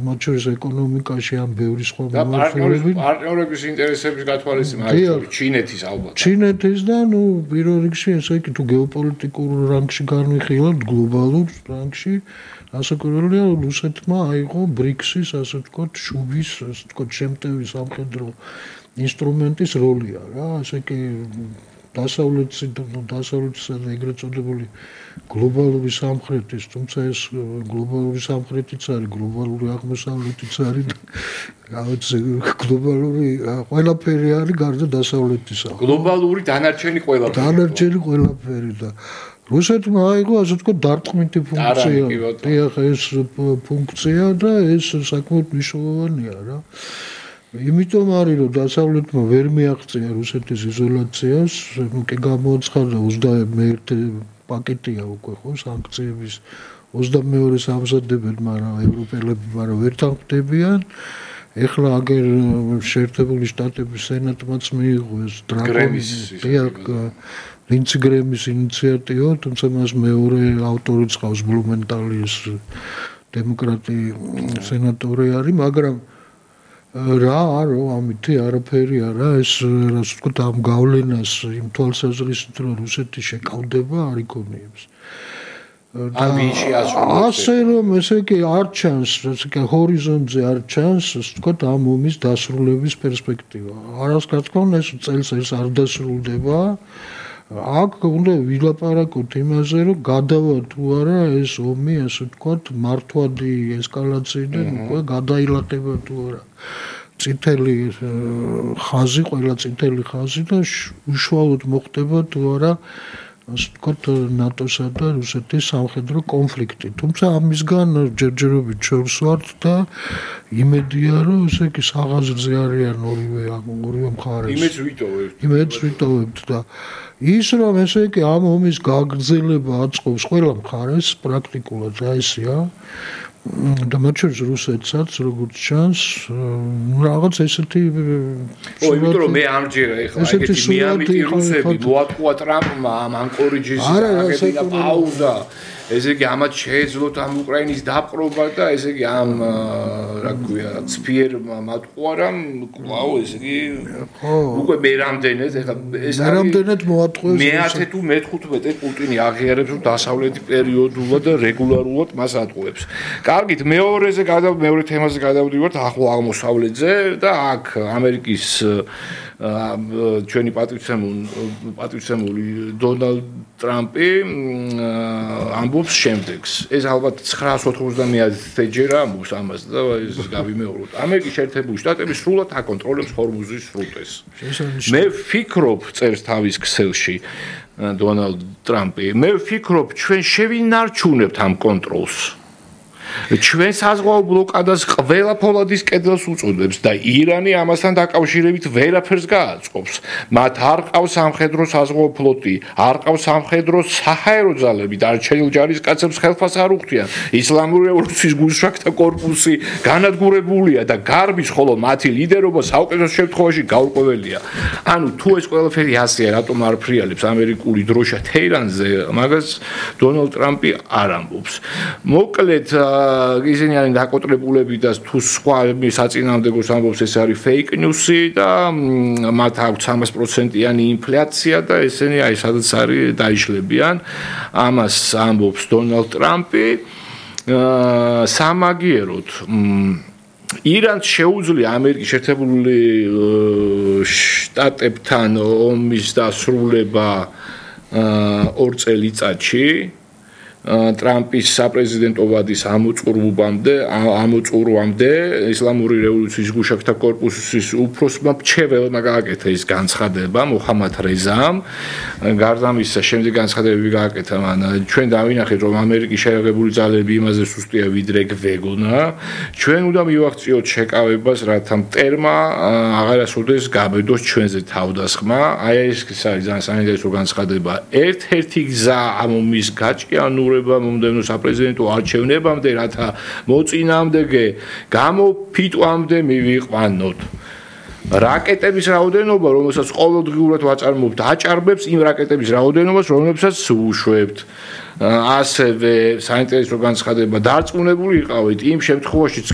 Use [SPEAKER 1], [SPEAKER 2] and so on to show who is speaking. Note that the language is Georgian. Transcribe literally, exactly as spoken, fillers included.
[SPEAKER 1] მათ შორის ეკონომიკაში ამ ბევრი სხვა
[SPEAKER 2] მიმართულებით. პარტნიორების ინტერესების გათვალისწინება, აი ჩინეთის ალბათ.
[SPEAKER 1] ჩინეთის და ნუ პირველ რიგში ესე იგი თუ გეოპოლიტიკურ რანგში განვიხილავთ, გლობალურ რანგში, ასაკურველია რუსეთმა აიღო ბრიქსის, ასე ვთქვათ, შუბის, ასე ვთქვათ, შემტევი სამხედრო ინსტრუმენტის როლია რა, ასე კი დასავლეთის დასავლეთისა და ეგრეთ წოდებული გლობალური სამხრეთის, თუმცა ეს გლობალური სამხრეთიც არის, გლობალური აღმოსავლეთიც არის, რაღაც გლობალური ყველაფერი არის გარდა დასავლეთისა.
[SPEAKER 2] გლობალური დანარჩენი ყველაფერი.
[SPEAKER 1] დანარჩენი ყველაფერი და რუსეთმა აიღო, ასე ვთქვათ, დარტყმითი ფუნქცია. დიახ, ეს ფუნქცია და ეს საკმაოდ მნიშვნელოვანია რა. იმიტომ არის რომ დასავლეთმა ვერ მიაღწია რუსეთის იზოლაციას, ნუ კი გამოაცხადა ოცდამეერთე პაკეტია უკვე ხო სანქციების ოცდამეორეს ამზადებენ, მაგრამ ევროპელები მაგრამ ვერ თანხმდებიან. ეხლა აგერ შეერთებული შტატების სენატმაც მიიღო ეს დრაკონის ლინცი გრემის ინიციატივა, თუმცა მას მეორე ავტორიც ყავს ბლუმენტალის დემოკრატი სენატორი არის, მაგრამ რა არო ამითი არაფერი არა ეს ასე ვთქვათ ამ გავლენას იმ თვალსაზრისით რომ რუსეთი შეკავდება არ იქონიებს.
[SPEAKER 2] ამბიში ასრულებს.
[SPEAKER 1] ასე რომ ესე კი არ ჩანს, ესე კი ჰორიზონტზე არ ჩანს, ასე ვთქვათ ამ ომის დასრულების პერსპექტივა. არას რა თქმა უნდა ეს წელს ეს არ დასრულდება. აქ უნდა ვილაპარაკოთ იმაზე, რომ გადავა თუ არა ეს ომი, ასე ვთქვათ, მართვადი ესკალაციიდან უკვე გადაილაყება თუ არა. წითელი ხაზი, ყველა წითელი ხაზი და უშუალოდ მოხდება თუ არა, ასე ვთქვათ, ნატოსა და რუსეთის სამხედრო კონფლიქტი. თუმცა ამისგან ჯერჯერობით შორს ვართ და იმედია, რომ ესე იგი საღაზრზე არიან ორივე ორივე მხარეს.
[SPEAKER 2] იმედს ვიტოვებთ.
[SPEAKER 1] იმედს ვიტოვებთ და ის რომ ესე იგი ამ ომის გაგრძელება აწყობს ყველა მხარეს პრაქტიკულად რა ესეა და მათ შორის რუსეთსაც როგორც ჩანს რაღაც ესეთი
[SPEAKER 2] ო იმიტომ რომ მე ამჯერა ეხლა ეგეთი მიამიტი რუსები მოატყუა ტრამპმა ამ ანკორიჯის აღებინა პაუზა ესე იგი ამათ შეეძლოთ ამ უკრაინის დაპყრობა და ესე იგი ამ რა ქვია ცფიერმა მატყუა რამ კვლავ ესე იგი უკვე მე რამდენად ეხლა ეს
[SPEAKER 1] არის რამდენად მოატყუეს
[SPEAKER 2] მეათე თუ მეთხუთმეტე პუტინი აღიარებს რომ დასავლეთი პერიოდულად და რეგულარულად მას ატყუებს. კარგით, მეორეზე გადა მეორე თემაზე გადავდივართ ახლო აღმოსავლეთზე და აქ ამერიკის ჩვენი პატივცემული პატივცემული დონალდ ტრამპი ამბობს შემდეგს. ეს ალბათ ცხრაას ოთხმოცდამეათე ჯერა ამბობს ამას და ეს გავიმეოროთ. ამერიკის შეერთებული შტატები სრულად აკონტროლებს ჰორმუზის სრუტეს. მე ვფიქრობ, წერს თავის ქსელში დონალდ ტრამპი, მე ვფიქრობ, ჩვენ შევინარჩუნებთ ამ კონტროლს. ჩვენ საზღვაო ბლოკადას ყველა ფოლადის კედელს უწოდებს და ირანი ამასთან დაკავშირებით ვერაფერს გააწყობს. მათ არ ყავს სამხედრო საზღვაო ფლოტი, არ ყავს სამხედრო საჰაერო ძალები, დარჩენილ ჯარისკაცებს ხელფას არ უხდიან. ისლამური რევოლუციის გულშრაგთა კორპუსი განადგურებულია და გარბის, ხოლო მათი ლიდერობა საუკეთესო შემთხვევაში გაურკვეველია. ანუ თუ ეს ყველაფერი ასეა, რატომ არ ფრიალებს ამერიკული დროშა თეირანზე, მაგას დონალდ ტრამპი არ ამბობს. მოკლედ ისინი არიან დაკოტრებულები და თუ სხვა საწინააღმდეგოს ამბობს ეს არის fake news-ი და მათ აქვს სამას პროცენტიანი ინფლაცია და ესენი აი სადაც არის დაიშლებიან. ამას ამბობს დონალდ ტრამპი. სამაგიეროდ ირანს შეუძლია ამერიკის შეერთებული შტატებთან ომის დასრულება ორ წელიწადში. ტრამპის საპრეზიდენტო ვადის ამოწურვამდე ამოწურვამდე ისლამური რევოლუციის გულშრაგთა კორპუსის უფროსმა მრჩეველმა გააკეთა ის განცხადება მოჰამად რეზამ. გარდა ამისა, შემდეგ განცხადებები გააკეთა მან ჩვენ დავინახეთ რომ ამერიკის შეერთებული ძალები იმაზე სუსტია ვიდრე გვეგონა. ჩვენ უნდა მივაღწიოთ შეკავებას, რათა მტერმა აღარასოდეს გაბედოს ჩვენზე თავდასხმა. აი ეს არის ძალიან საინტერესო განცხადება. ერთ-ერთი გზა ამ ომის გაჭიანურება მომდევნო საპრეზიდენტო არჩევნებამდე, რათა მოწინააღმდეგე გამოფიტვამდე მივიყვანოთ. რაკეტების რაოდენობა, რომელსაც ყოველდღიურად ვაწარმოებთ, აჭარბებს იმ რაკეტების რაოდენობას, რომლებსაც უშვებთ. ასევე საინტერესო განცხადება, დარწმუნებული იყავით იმ შემთხვევაში